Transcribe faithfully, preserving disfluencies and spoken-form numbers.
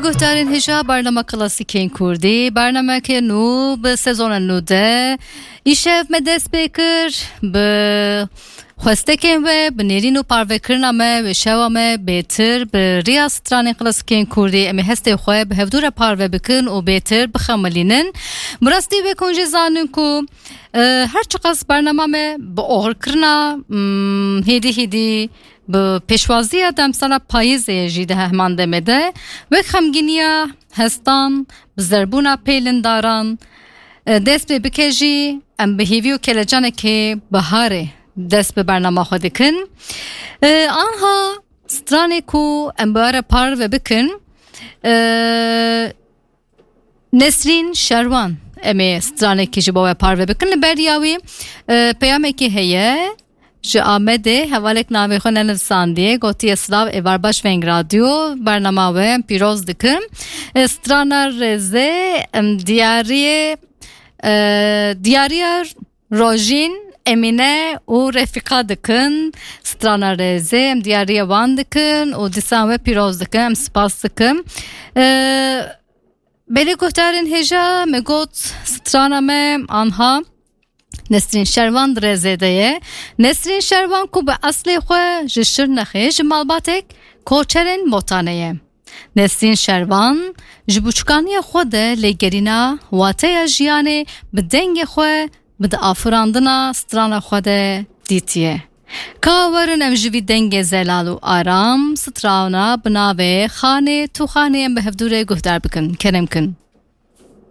Guhdarên hêja bernama klasîkên Kurdî, bernameke nû bi sezona nû de îşev me dest pê kir. Bi xwestekên we, bi nêrîn û parvekirina me wê şewa me bêtir bi riya stranên klasîkên Kurdî em ê hestê xwe bi hevdû re parve bikin û bêtir bixemilînin. Bi rastî wek hûn jî zanin ku, e, her çiqas bernama me bi oxirkirina, mm, hêdî hêdî bi pêşwaziya demsala payîzê jî di hemandemê de wek xemgîniya hestan bi zerbûna pêlindaran, e, dest pê bike jî, em bi hêvî û kelecanekê biharê dest bi bernama xwe dikin. E, anha stranê ku em bi we re parve bikin, e, Nesrîn Şerwan, em ê stranekî ji bo we parve bikin. Li beriya wî, e, peyamekî heye. Ji Amedê hevalek navê xwe nenivsandiye. Gotiye, "Silav, êvar baş Veng Radyo. Bernama we em pîroz dikim." E, strana rêzê, em diyariyê, e, diyariya Rojîn, Emîne û Refîqa dikin. Strana rêzê em diyariya wan dikin û dîsan we pîroz dikin. Em spas dikin. E, Belê guhdarên hêja, me got strana me anha Nesrîn Şervan di rêzê de ye. Nesrîn Şervan ku bi eslê xwe ji Şirnexê, ji malbatek koçerên Motanê ye. Nesrîn Şervan ji buçikaniya xwe de lêgerîna wateya jiyanê bi dengê xwe, bi di afirandina strana xwe de dîtiye. Ka werin em ji vî dengê zelal û aram strana bi navê Xanê Tu Xanê em bi hevdû re guhdar bikin. Kerem kin.